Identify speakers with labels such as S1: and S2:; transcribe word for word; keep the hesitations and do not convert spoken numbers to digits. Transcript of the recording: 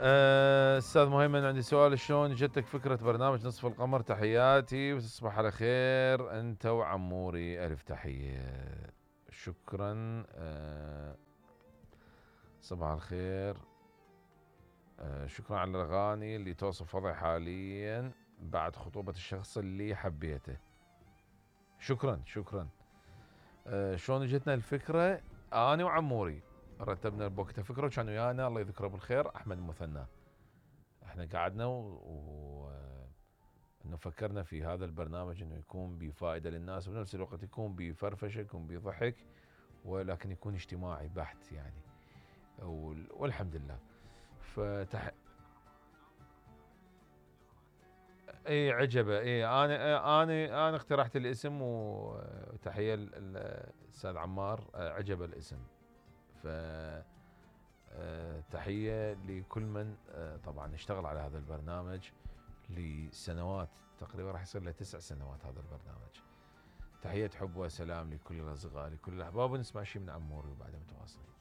S1: آه، استاذ مهيمن عندي سؤال، شلون جتك فكرة برنامج نصف القمر؟ تحياتي وتصبح على خير انت وعموري، الف تحية. شكرا. آه، صباح الخير. آه، شكرا على الاغاني اللي توصف وضعي حاليا بعد خطوبة الشخص اللي حبيته. شكرا شكرا. آه، شلون جتنا الفكرة؟ انا وعموري رتبنا بوقتها فكرة، وكان ويانا الله يذكره بالخير احمد المثنى. احنا قعدنا و, و... انه فكرنا في هذا البرنامج انه يكون بفائده للناس، وبنفس الوقت يكون بفرفشه، يكون بضحك، ولكن يكون اجتماعي بحت يعني. والحمد لله. فتح اي عجبه. اي انا انا انا اقترحت الاسم، وتحيه للاستاذ عمار، عجبه الاسم. ف تحيه لكل من طبعا اشتغل على هذا البرنامج لسنوات، تقريبا راح يصير له تسع سنوات هذا البرنامج. تحية حب وسلام لكل الأصدقاء لكل الأحباب، ونسمع شيء من عموري وبعدها متواصلين.